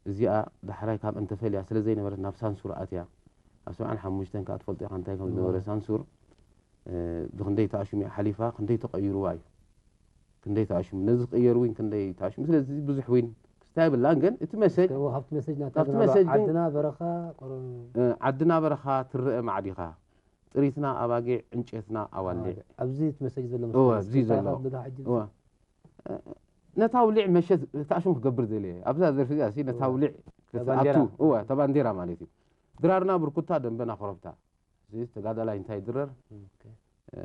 እዚኣ ዳሕራይ ካብ እንተፈልያ ስለ ዘይነበረት ናብ ሳንሱር ኣትያ። ኣብ ሰብዓን ሓሙሽተን ከኣ ትፈልጦ ኢኻ እንታይ ከም ዝነበረ ሳንሱር። እ፣ ብኽንደይ ተኣሽሙ እያ ሓሊፋ፣ ክንደይ ተቐይሩዋ እዩ። ክንደይ ተኣሽሙ፣ ነዚ ክቕየር እውን ክንደይ ተኣሽሙ። ስለዚ ብዙሕ እውን ክስታይ የብላን፣ ግን እቲ መሰጅ፣ እስከ ካብቲ መሰጅ ናታ ካብቲ ግን መሰጅ ግን ዓድና በረኻ፣ ቆሮ-፣ እ፣ ዓድና በረኻ ትረአ ማዕዲኻ፣ ጥሪትና ኣባጊዕ፣ ዕንጨትና ኣዋልዕ። ኣዋልዕ። ኣብዚ እቲ መሰጅ ዘሎ እወ፣ መሰለኒ። ኣብዚ እስከ ዘሎ። ካብ ደጋ ሕጂ እወ። እ፣ ነታ ውሊዕ መሸት ተኣሽሙ ክገብር ደልየ። ኣብዛ ደርፊ እዚኣ ሲ ነታ እወ። ውሊዕ እታ ባንዴራ። ክትኣቱ፣ እወ፣ እታ ባንዴራ ማለት እዩ። ድራርና ብርኩታ፣ ደንበና ኮረብታ። እዚ ተጋዳላይ እንታይ ይድረር? ኦኬ። እ፣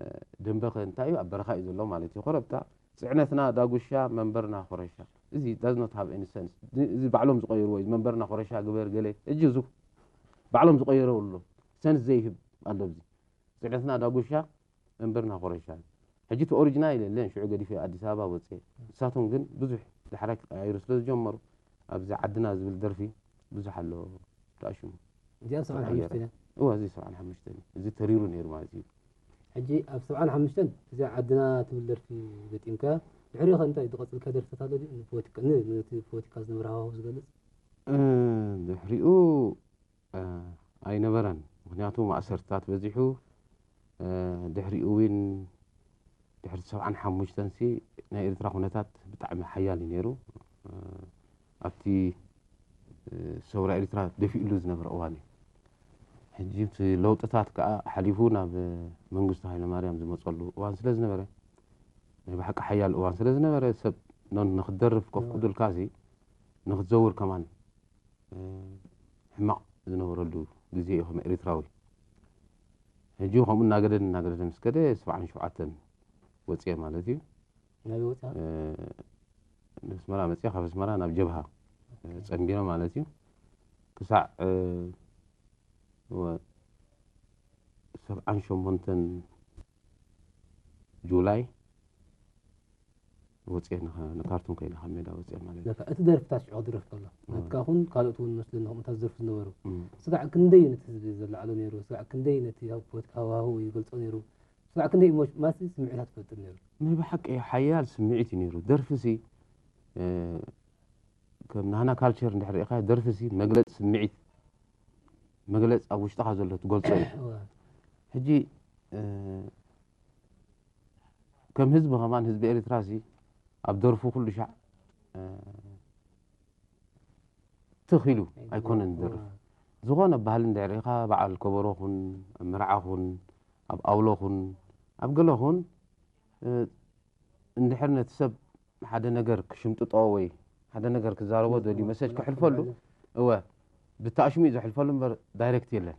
ደንበ ከ እንታይ እዩ? ኣብ በረኻ እዩ ዘሎ ማለት እዩ። ኮረብታ፣ ጽዕነትና ዳጉሻ፣ መንበርና ኮረሻ። እዚ does not have any sense። እዚ፣ እዚ ባዕሎም ዝቐየርዎ እዩ። መንበርና ኮረሻ ግበር ገለ። ሕጂ እዚ ባዕሎም ዝቐየርዎ ኣሎ። ሰንስ ዘይህብ ኣሎ ኣብዚ። ጽዕነትና ዳጉሻ፣ መንበርና ኮረሻ። ሕጂ እቲ ኦሪጂናል የለን፣ ሽዑ ገዲፈ ኣዲስ ኣበባ ወጽኤ። ንሳቶም ግን ብዙሕ ዳሕራይ ክቀያይሩ ስለ ዝጀመሩ፣ ኣብዚ ዓድና ዝብል ደርፊ ብዙሕ ኣሎ ተኣሽሙ። እዚኣ ሰብዓን ሓሙሽተን እያ። እወ፣ እዚ ሰብዓን ሓሙሽተን እዩ። እዚ ተሪሩ ነይሩ ማለት እዩ። ሕጂ ኣብ ሰብዓን ሓሙሽተን እዚኣ ዓድና ትብል ደርፊ ገጢምካ፣ ድሕሪኡ ከ እንታይ ዝቐጽልካ ደርፍታት ኣሎ ድዩ? ንፖለቲካ፣ ን-፣ ነቲ ፖለቲካ ዝነበረ ሃዋህው ዝገልጽ? እ፣ ድሕሪኡ፣ እ፣ ኣይነበረን። ምኽንያቱ ማእሰርትታት በዚሑ፣ እ፣ ድሕሪኡ እውን ድሕሪ ሰብዓን ሓሙሽተን ሲ ናይ ኤርትራ ኩነታት ብጣዕሚ ሓያል እዩ ነይሩ። እ፣ ኣብቲ፣ እ፣ ሰውራ ኤርትራ ደፊእሉ ዝነበረ እዋን እዩ። ሕጂ እቲ ለውጥታት ከኣ ሓሊፉ ናብ መንግስቱ ሃይለማርያም ዝመጸሉ እዋን ስለ ዝነበረ፣ ናይ ብሓቂ ሓያል እዋን ስለ ዝነበረ፣ ሰብ ኖ-፣ ንኽትደርፍ ኮፍ ክብልካ ሲ ንኽትዘውር ከማን፣ እ፣ ሕማቕ ዝነበረሉ ግዜ እዩ ከም ኤርትራዊ። ሕጂ ከምኡ እናገደደ እናገደደ ምስ ከደ፣ ሰብዓን ሸውዓተን ወጽኤ ማለት እዩ። ናበይ ወጺኣ? እ፣ ንኣስመራ መጺኣ፣ ካብ ኣስመራ ናብ ጀብሃ፣ እ፣ ኦኬ። ጸንቢረ ማለት እዩ። ክሳዕ፣ እ፣ ወ-፣ ሰብዓን ሸሞንተን ጁላይ ወጽኤ ንኸ-፣ ንካርቱም ከይደ ካብ ሜዳ ወጽኤ ማለት እዩ። ለካ እቲ ደርፍታት ሽዑ ክድረፍ ከሎ፣ እም። ናትካ ኹን ካልኦት እውን መስለኒ ከምኡታት ዝደርፉ ዝነበሩ። እም። ስጋዕ ክንደይ ነቲ ህዝቢ ዘለዓሎ ነይሩ፣ ስጋዕ ክንደይ ነቲ ኣብ ፖለቲካ ሃዋህው ይገልጾ ነይሩ፣ ስጋዕ ክንደይ ኢሞሽ-፣ ማለት ስምዒታት ትፈጥር ነይሩ። ናይ ብሓቂ ሓያል ስምዒት እዩ ነይሩ። ደርፊ ሲ፣ እ፣ ከም ናህና ካልቸር እንድሕር ርኢኻ፣ ደርፊ ሲ መግለጺ ስምዒት፣ መግለጺ ኣብ ውሽጥኻ ዘሎ ትገልጾ እዩ። እወ። ሕጂ፣ እ፣ ከም ህዝቢ ከማን፣ ህዝቢ ኤርትራ ሲ ኣብ ደርፉ ኩሉ ሻዕ፣ እ፣ ትኽ ኢሉ ኣይኮነን ዝደርፍ። እወ። ዝኾነ ባህሊ እንድሕር ርኢኻ፣ በዓል ከበሮ ኹን፣ ኣብ መርዓ ኹን፣ ኣብ ኣውሎ ኹን፣ ኣብ ገለ ኹን፣ እ፣ እንድሕር ነቲ ሰብ ሓደ ነገር ክሽምጥጦ ወይ ሓደ ነገር ክዛረቦ ደልዩ መሰጅ ከሕልፈሉ፣ እወ፣ ብተኣሽሙ እዩ ዘሕልፈሉ እምበር ዳይሬክት የለን።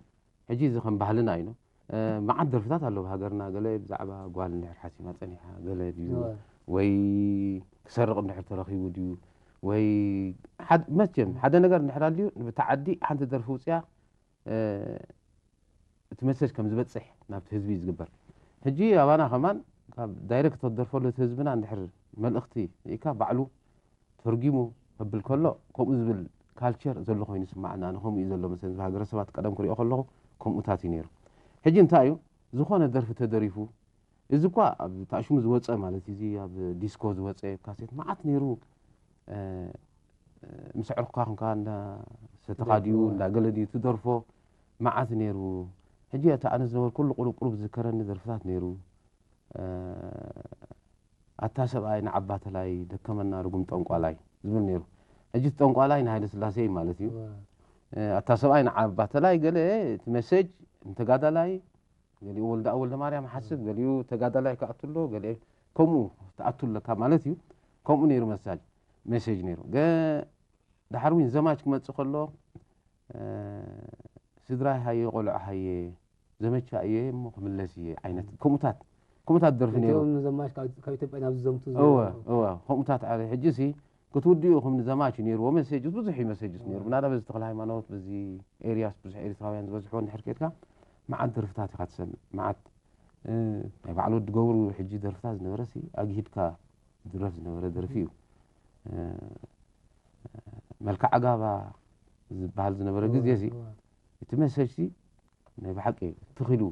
ሕጂ እዚ ከም ባህልና እዩ። እ፣ መዓት ደርፍታት ኣለዉ ሃገርና፣ ገለ ብዛዕባ ጓል እንድሕር ሓሲማ ጸኒሓ፣ ገለ ድዩ እወ። ወይ ክሰርቕ እንድሕር ተረኺቡ ድዩ ወይ ሓድ-፣ መቸም ሓደ ነገር እንድሕር ኣልዩ፣ ንብታ ዓዲ ሓንቲ ደርፊ ውጽያ፣ እ፣ እቲ መሰጅ ከም ዝበጽሕ ናብቲ ህዝቢ እዩ ዝግበር። ሕጂ ኣባና ከማን ካብ ዳይሬክት ተደርፈሉ እቲ ህዝብና እንድሕር መልእኽቲ ርኢካ ባዕሉ ተርጊሙ ከብል ከሎ፣ ከምኡ ዝብል ካልቸር ዘሎ ኮይኑ ይስማዓኒ። ኣነ ከምኡ እዩ ዘሎ መሰለኒ፣ ሃገረሰባት ቀደም ክሪኦ ከለኹ ከምኡታት እዩ ነይሩ። ሕጂ እንታይ እዩ፣ ዝኾነ ደርፊ ተደሪፉ፣ እዚ እኳ ኣብ ታሽሙ ዝወጸ ማለት እዩ፣ እዚ ኣብ ዲስኮ ዝወጸ ካሴት መዓት ነይሩ። እ፣ ምስ ኣዕሩኽካ ኾንካ እንዳ ሰተኻ ድዩ፣ ደርፎ። እንዳ ገለ ድዩ ትደርፎ፣ መዓት ነይሩ። ሕጂ እቲ ኣነ ዝነበርኩሉ ቁሩብ ቁሩብ ዝዝከረኒ ደርፍታት ነይሩ። እ፣ ኣታ ሰብኣይ ንዓባ ተላይ ደከመና ርጉም ጠንቋላይ ዝብል ነይሩ። ሕጂ እቲ ጠንቋላይ ንሃይለ ስላሴ እዩ ማለት እዩ። እወ። እ፣ ኣታ ሰብኣይ ንዓባ ተላይ ገለ እቲ መሴጅ ንተጋዳላይ፣ ገሊኡ ወልደኣብ ወልደማርያም ሓስብ፣ ገሊኡ ተጋዳላይ ክኣቱ ኣሎ፣ ገሊኡ ከምኡ ትኣቱ ኣለካ ማለት እዩ። ከምኡ ነይሩ መሳጅ፣ ሜሴጅ ነይሩ። ገ-፣ ድሓር እውን ዘማች ክመጽእ ከሎ፣ እ፣ ስድራይ ሃየ፣ ቆልዑ ሃየ፣ ዘመቻ እየ እሞ ክምለስ እየ ዓይነት ከምኡታት፣ ከምኡታት ደርፊ ነይሩ። እቶም ዘማች ካብ፣ ካብ ኢትዮጵያ ናብ ዝዘምቱ እወ፣ ዝነበሩ። እወ፣ ከምኡታት ኣረ፣ ሕጂ ሲ ክትውድኡ ኢኹም ንዘማች ነይርዎ መሴጅስ፣ ብዙሕ እዩ መሴጅስ ነይሩ። እወ። ምናልባት በዚ ተኽለ ሃይማኖት፣ በዚ ኤርያስ ብዙሕ ኤርትራውያን ዝበዝሕዎ እንድሕር ከድካ፣ መዓት ደርፍታት ኢኻ ትሰምዕ። መዓት፣ እ፣ ናይ በዓል ወዲ ገብሩ ሕጂ ደርፍታት ዝነበረ ሲ ኣግሂድካ ዝድረፍ ዝነበረ ደርፊ እዩ። እ፣ መልክዕ ኣጋባ ዝበሃል ዝነበረ እወ፣ ግዜ ሲ፣ እወ። እቲ መሴጅ ሲ ናይ ብሓቂ ትኽ ኢሉ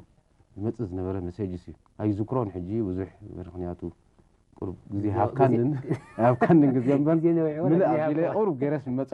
ዝመጽእ ዝነበረ መሴጅስ እዩ። ኣይዝክሮን ሕጂ ብዙሕ፣ ምኽንያቱ ቁሩብ ግዜ ግዜ ሃብካንን፣ ሃብካንን ግዜ እምበር፣ ግዜ ነዊሕዎ፣ ምልእ ግዜ ኣቢለ ሃብካ። ቁሩብ ገይረስ ዝመጽእ